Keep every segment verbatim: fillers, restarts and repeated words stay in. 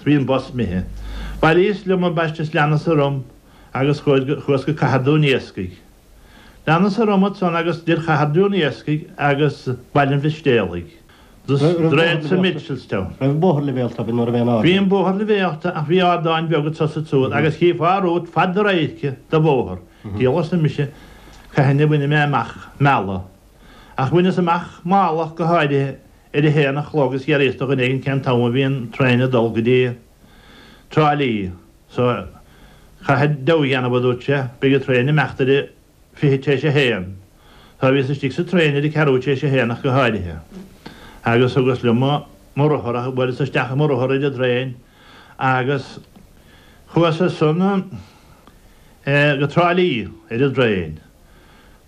bhí an bus imithe. Bhailíos liom ambaiste is leanas orm agus chuas go Cathair Dún Iascaigh. Leanas orm ansan agus idir Chathair Dún Iascaigh agus Baile an Mhistéalaigh. Droichead sa Mitchelstown. Raibh bóthar leibhéalta bhí nuair a bhí an Bhí an bóthar leibhéalta ach bhí ardáin beaga anso is ansúd agus chífeá romhat fad do radhairce de bhóthar. Diabhal arsa mise, cathain a bhainfidh mé amach Meala. Ach bhaineas amach Meala go háirithe ar a haon a chlog is d'fhiafraíos de dhuine éigin cén t-am a bhí an traein ag dul go dtí Trá Lí. So, caithfidh deabhadh a dhéanamh, a dúirt sé, beidh an traein ag imeacht ar a fiche tar éis a haon. So bhíos istigh sa traein ar a ceathrú tar éis a haon ach go háirithe. Agus thugas liom mo rothar ach bhuaileas isteach i mo rothar ar an traein agus chuas ansan go Trá Lí ar an dtraein.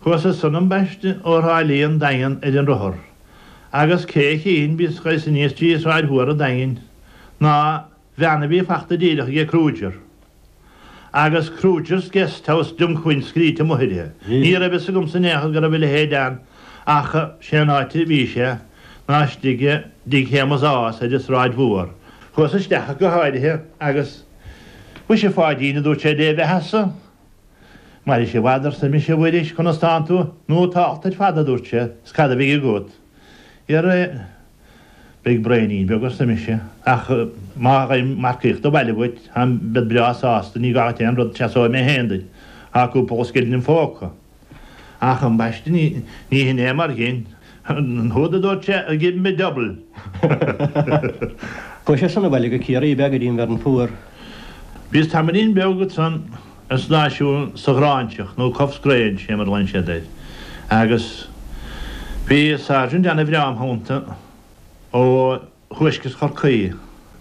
Chuas ansan ambaiste ó Thrá Lí an Daingean ar an rothar. Agus cé a chífinn bhíos ag goil aníos trí Shráid Mhór an Daingin ná veain a bhí fachta díreach aige Kruger. Agus Kruger's Guest House Dunquin scríte amuigh uirthi. Ní raibh fhios agamsa in aon chor go raibh a leithéid ann ach sé an áit a bhí sé ná istigh i dtigh Shéamus Ághas ar an Sráid Mhór. Chuas isteach go háirithe agus Mhuise a Pháidín, a dúirt sé, dé bheathasa. Mairis i bhfad, arsa mise, a Mhuiris, conas tánn tú? Nótálta ar fad, a dúirt sé, is cad a bheidh agat? Dhera, beidh braoinín beag, arsa mise, ach má gheibhim marcaíocht abhaile uait, táim, bead breá sásta, ní gá duit aon rud, seasóidh mé féin duit, tá cúpla scilling im phóca. Ach ambaiste, ní, ní hin é mar ghin. An rud a dúirt sé, give me double. Chuaigh sé san abhaile go Ciarraí ab ea go dtí an bhFearann Fuar. Bhíos tamaillín beag ansan ar stáisiún sa Ghráinseach, nó Cuffs Grange, sé mar a ghlaonn siad air, agus bhí sergeant ana-bhreá im theannta ó thuaisceart Chorcaí,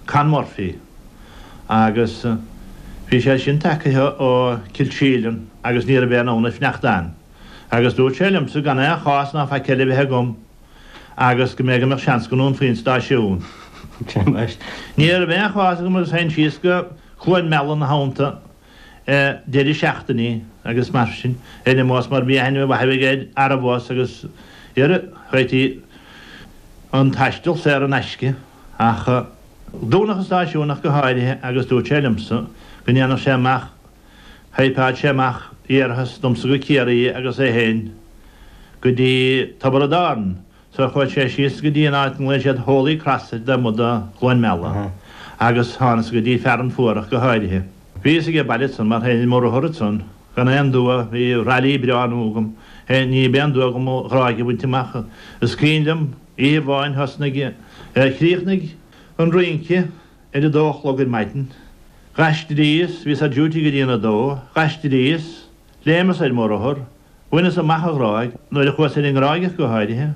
Con Murphy, agus bhí sé sin tagaithe ó Kilsheelan agus ní raibh aon fhonn air fanacht ann. Agus dúirt sé liomsa gan aon chás ná faic eile a bheith agam agus go mbeadh go mbeadh seans go ndúnfaí an stáisiún. Ní raibh aon chás agam agus théinn síos go Cluain Meala ina theannta deireadh seachtainí agus mar sin ar an mbus mar bhí aithne mhaith aige ar an bhus agus dhera, chuirtí an taisteal saor in aisce ach dúnadh an stáisiún ach go háirithe agus dúirt sé liomsa go ndéanfadh sé amach Thaifead sé amach iarrthas domsa go Ciarraí agus é féin go dtí Tiobraid Árann so chuaigh sé síos go dtí an áit a nglaonn siad Holy Cross ar taobh amuigh de Chluain Meala agus thánas go dtí Fearann Fuar ach go háirithe. Bhíos aige baile ansan mar théinn ar mo rothar ansan gan aon dua, bhí Raleigh breá nua agam, ní b'aon dua agam an Ghráig a bhaint amach. Is cuimhin liom oíche amháin thosnaigh, chríochnaigh an rince ar a dó a chlog ar maidin. D'aistríos, bhíos ar duty go dtí an a dó, d'aistríos, léimeas ar mo rothar, bhaineas amach an Ghráig, nuair a chuas ar an nGráig ach go háirithe,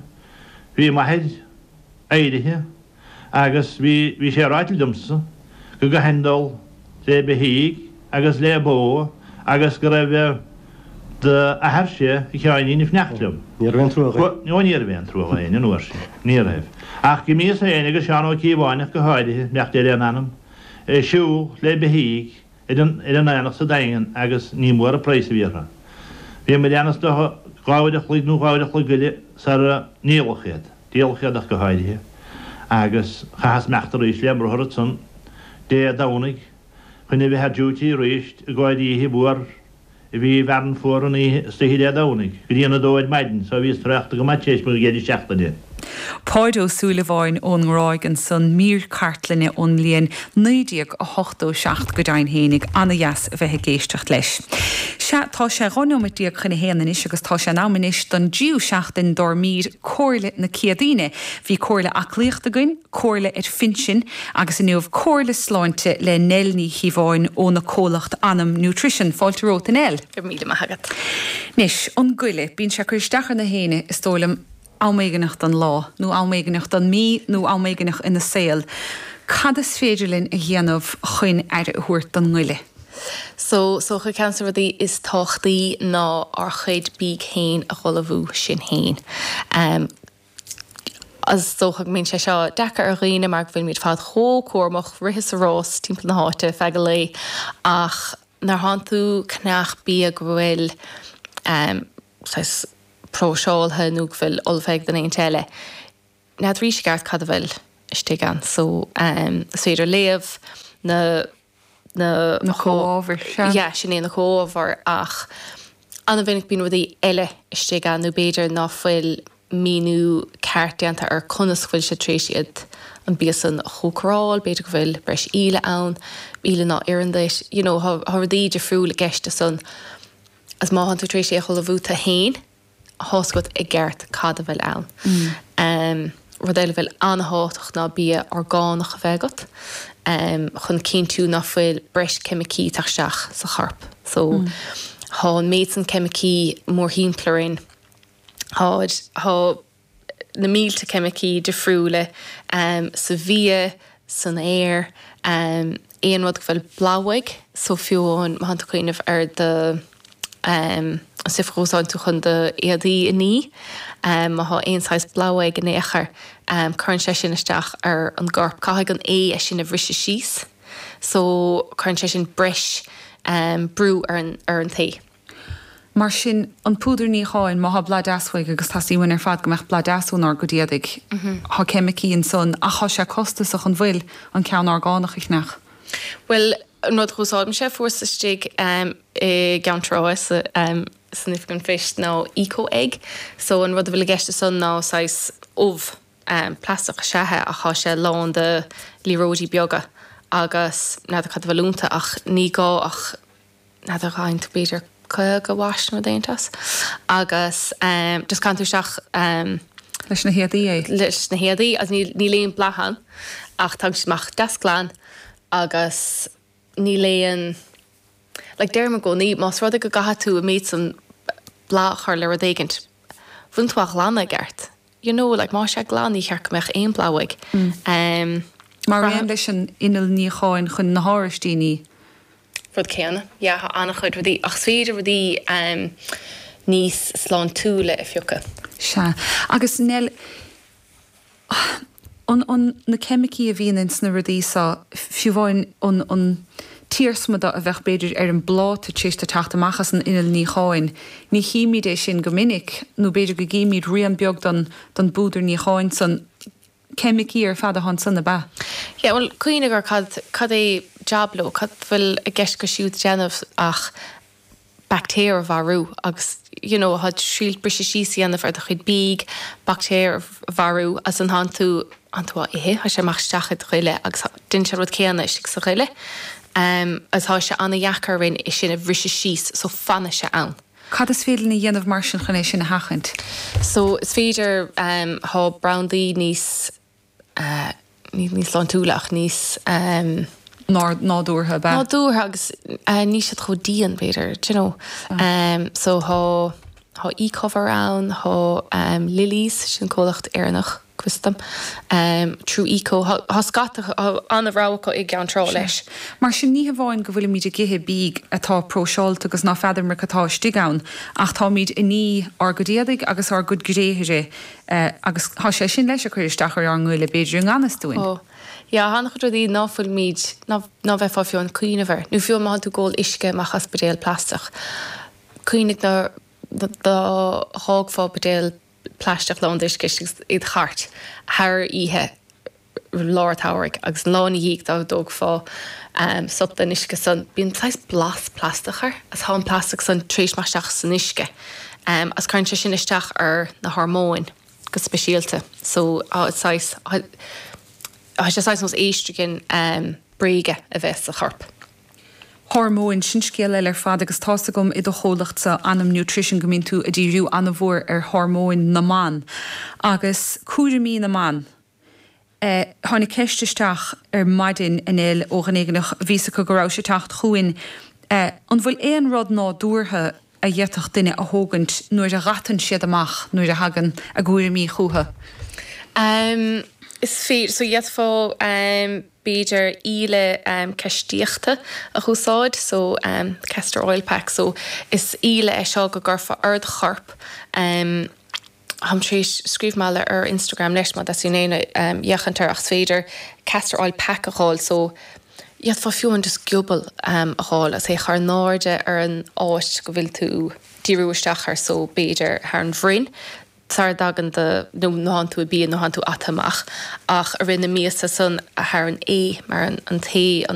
bhí m'athair éirithe agus bhí, bhí sé ráite liomsa go gcaithfinn dul le beithígh agus le bó agus go raibh d'athairse, a Sheáinín, ag fanacht liom. Ní raibh aon trua dhó. Ó ní raibh aon trua dhó fhéin an uair sin, ní raibh. Ach d'imíos féin agus Seán Ó Cíobháin ach go háirithe, beannacht Dé lena anam, ag siúl le beithígh ar an ar an aonach sa Daingean agus ní mór an praghas a bhí orthu. Bhíomair ann is dócha dhá uair a chloig nó dhá uair a chloig go leith sara ndíoladh iad. Díoladh iad ach go háirithe agus chaitheas imeacht arís le mo rothar ansan Dé Domhnaigh chun a bheith ar duty arís i gcomhair oíche mhór a bhí i bhFearann Fuar an oíche istoíche Dé Domhnaigh go dtí an a dó ar maidin so bhíos traochta go maith tar éis mo dheireadh seachtaine. Páid Ó Súilleabháin ón nGráig ansan, mír cartlainne ón mbliain naoi déag a hochtó seacht go deimhin fhéinig, ana-dheas a bheith ag éisteacht leis. Sea, tá sé dhá nóiméad déag chun a haon anois agus tá sé in am anois don dtríú seachtain dár mír Comhairle na Céadaoine. Bhí comhairle aclaíochta againn, comhairle ar phinsin agus inniu comhairle sláinte le Nell Ní Chíobháin óna comhlacht Anam Nutrition. Fáilte romhat a Nell. Go raibh míle maith agat. Anois, an goile, bíonn sé ag cur isteach ar na héinne, is dóigh liom, am éigineach den lá, nó am éigineach den mí, nó am éigineach ina saol. Cad is féidir linn a dhéanamh chun aire a thabhairt don ngoile? So, is dócha ceann de na rudaí is tábhachtaí ná ár chuid bídh féin a dh'ullmhú sinn féin. Is dócha go mbíonn sé seo deacair ar dhaoine mar go bhfuilimid fad chomh cúramach, rith is a rás timpeall na háite feadh an lae ach nuair thánn tú ag ceannach bia go bhfuil saghas próiseáltha nó go bhfuil ullmhaithe ag duine éigint eile, n'fheadar i gceart cad a bhfuil istigh ann. So, is féidir léamh na na Na comhábhair, sea. Yeah, sin é na comhábhair ach an-mhinic bíonn rudaí eile istigh ann nó b'fhéidir ná fuil míniú ceart déanta ar conas bhfuil sé tar éis iad an bia san a chócaráil, b'fhéidir go bhfuil breis íle ann, íle ná oireann duit, you know, tá tá rudaí difriúil i gceist ansan. Agus má thánn tú tar éis é a ullmhú tú féin, tá's agat i gceart cad a bhfuil ann. Um, rud eile bhfuil an-tábhachtach ná bia orgánach a bheith agat, um, chun cinntiú ná fuil breis ceimicí ag teacht isteach sa chorp. So thá an méid san ceimicí mórthimpeall orainn, thá thá na mílte ceimicí difriúla um, sa bhia, san aer, um, aon rud go bhfuil blas uaidh, so fiú amháin má thánn tú ag cuimhneamh ar do um, an stuif a úsáideann tú chun do éadaí a ní, um, má thá aon saghas blas uaidh in aon chor, um, cuireann sé sin isteach ar an gcorp. Caithfidh an ae é sin a bhriseadh síos, so cuireann sé sin breis um, brú ar an, ar an tae. Mar sin an púdar níocháin má thá blas deas uaidh agus teastaíonn uainn ar fad go mbeadh blas deas ónár gcuid éadaigh. Thá ceimicí ansan ach thá sé costasach an bhfuil an ceann orgánach a cheannach. Well, an rud a úsáidimse fuarthas istigh um, i gCeann Trá sa, um, san oifig an phoist ná eco egg. So an rud a bhfuil i gceist ansan ná saghas ubh um, plaisteach is ea é ach thá sé lán de liathróidí beaga agus n'fheadar cad a bhfuil iontu ach ní gá ach n'fheadar gcaithfidh tú b'fhéidir caoga amhais nó déantas. Agus um, just caitheann tú isteach um, Leis na héadaí é. leis na héadaí agus níl níl aon blas ann ach tá sé amach deas glan agus níl aon like deirim i gcónaí más rud é go gcaithfidh tú an méid san blas a chur le rud éigint. Bhfuil tú á ghlanadh i gceart. You know, like má sé glan ní cheart go mbeadh aon blas uaidh. Um, Mar aon leis an inneall níocháin chun na háraistí ní. rud céanna. Yeah, thá an-chuid rudaí ach is féidir rudaí um, níos sláintiúla a phiocadh. Sea. Agus Nell an, an na ceimicí a bhíonn ins na rudaí seo fiú amháin an, an t-iarsma a bheadh b'fhéidir ar an bpláta tar éis teacht amach as an inneall níocháin. Ní chímid é sin go minic nó b'fhéidir go gcímid rian beag don, don bpúdar níocháin san ceimicí ar fad atá ansan ab ea. Yeah, well, cuimhnigh ar cad, cad é jab leo, cad bhfuil i gceist acu siúd déanamh ach baictéir a mharú agus you know, thá siad briseadh síos a dhéanamh ar do chuid bídh, baictéir a mharú as an thánn tú an tú á ithe, thá sé amach isteach i do ghoile agus déanann sé rud céanna istigh sa ghoile. Um, agus tá sé an-dheacair orainn é sin a bhriseadh síos so fanann sé ann. Cad is féidir linn a dhéanamh mar sin chun é sin a sheachaint? So is féidir um, thá brandaí níos uh, ní níos sláintiúla ach níos um, Ná nádúrtha ab ea. nádúrtha agus uh, ní siad chomh dian b'fhéidir, do you know. Um, so thá thá eCover ann, thá um, Lilies sin comhlacht Éireannach go bhfios dom. Um, True Eco thá thá scata an-rogha i gCeann Trá leis. Mar sin ní hamháin go bhfuilimid ag ithe bídh atá próiseáilte agus ná feadar cad atá istigh ann, ach táimid ag ní ár gcuid éadaigh agus ár gcuid gréithe eh, agus thá sé sin leis a chur isteach ar ár ngoile b'fhéidir i ngan fhios dúinn. Ó, Ja, an-chuid rudaí ná fuilimid ná ná bheifeá fiú ag cuimhneamh air. Nó fiú má tú ag ól uisce amach as buidéal plaisteach. Cuimhnigh ná dá thógfá buidéal plaisteach lán d'uisce agus i do chairt thar oíche lár samhraidh agus lá ina dhiaidh dá dtógfá um, sop den uisce san bíonn saghas blas plaisteach air as thá an plaisteach san tar éis isteach san uisce. Um, as cuireann sé sin isteach ar na hormóin go speisialta. So uh, saghas Tá sé saghas nós estrogen um, bréige a bheith sa chorp. Hormóin sin scéal eile ar fad agus tá's agam i do chomhlachta Anam Nutrition go mbíonn tú ag díriú an-mhór ar hormóin na mban. Agus cúraimí na mban. Eh, tháinig ceist isteach ar maidin inniu ó dhuine éigin bhí acu go raibh sé teacht chugainn. Eh, an bhfuil aon rud nádúrtha a d'fhéadfadh duine a thógaint nuair a dh'atann siad amach nuair a thagann a gcúraimí chucu. Um, is féidir so d'fhéadfá um, b'fhéidir íle um, caistíochta a úsáid so um, castor oil pack so is íle é seo go gcuirfeá ar do chorp um, Táim tar éis scríobh mé ar Instagram leis má that's éinne um, dhéantar ach féidir castor oil pack a fháil so d'fhéadfá fiú an just giobal um, a fháil as é chur in airde ar an áit go bhfuil tú díriú isteach ar so b'fhéidir thar an bhroinn sar dagan de nó ná tú bí nó tú atamach ach a rinne míosa san a thar an é mar an, an té an